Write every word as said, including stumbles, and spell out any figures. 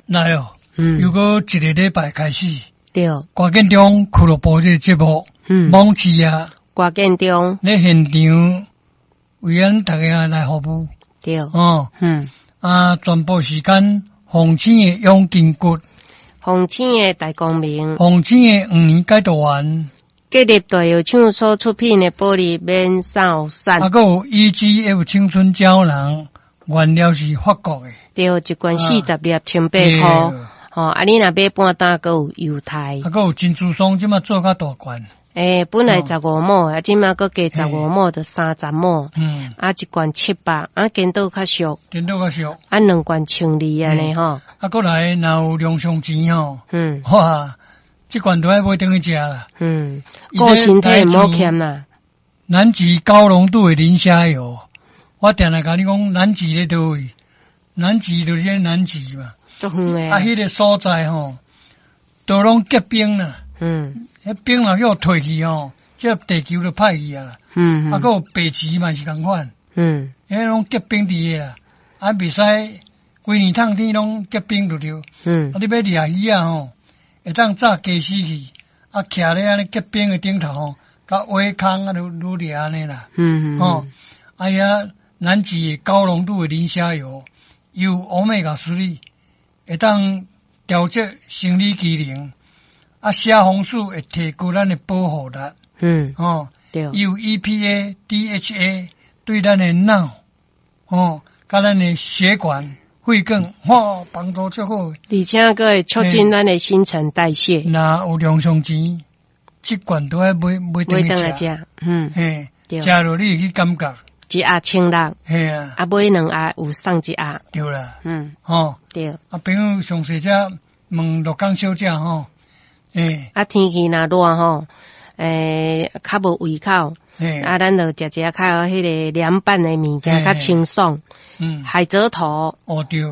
來哦，嗯，又閣一个禮拜開始，對，歌建中俱樂部這个節目，嗯，網誌啊，歌建中，咧現場為咱大家來服務，對，哦，嗯，啊，全部時間，鳳青的養筋骨，鳳青的大光明，鳳青的黃連解毒丸，吉立大藥廠所出品的保利免掃散，啊，閣有 E G F 青春膠囊，原料是法國的，對，一罐四十粒，千八箍，吼，啊，你若買半擔，閣有優待。啊，閣有珍珠霜，這馬做較大罐。欸，本來十五畝，啊，這馬閣加十五畝，就三十畝。嗯。啊，一罐七百，啊，顛倒較俗。顛倒較俗。啊，兩罐千二按呢吼。啊，閣來若有兩箱錢吼。嗯。哇，這罐都愛買轉去食啦。嗯。顧身體毋好欠啦。南極高濃度的磷蝦油，我定定共你講，南極咧佗位？南極就是南極嘛。足遠的。啊，彼个所在吼，都攏結冰啦。嗯，彼冰若予退去吼，這地球就歹去啊啦。嗯，啊，閣有白雉嘛是仝款。嗯，彼攏結冰佇个啦，啊，袂使規年冬天攏結冰就對。嗯，啊，你欲掠魚仔吼，會當紮雞絲去，啊，徛咧按呢結冰的頂頭吼，共挖空啊，愈愈掠按呢啦。嗯嗯。吼，啊遐南極高濃度的磷蝦油，有 Omega 三，會當調節生理機能。啊，蝦紅素會提高咱的保護力。嗯，吼，對，有 E P A、D H A 對咱的腦，吼，佮咱的血管、血管，吼，幫助足好。而且閣會促進咱的新陳代謝。若有兩箱錢，這罐都愛買買轉去食。嗯，嘿，食落你會去感覺。一盒千六。嘿啊。啊，買兩盒有送一盒。對啦。嗯。吼。對。啊，朋友上濟才問鹿港小姐吼。欸，啊，天氣若熱吼，欸，較無胃口，啊，咱就食食較彼个涼拌的物件，較清爽。嗯，海蜇頭。哦對。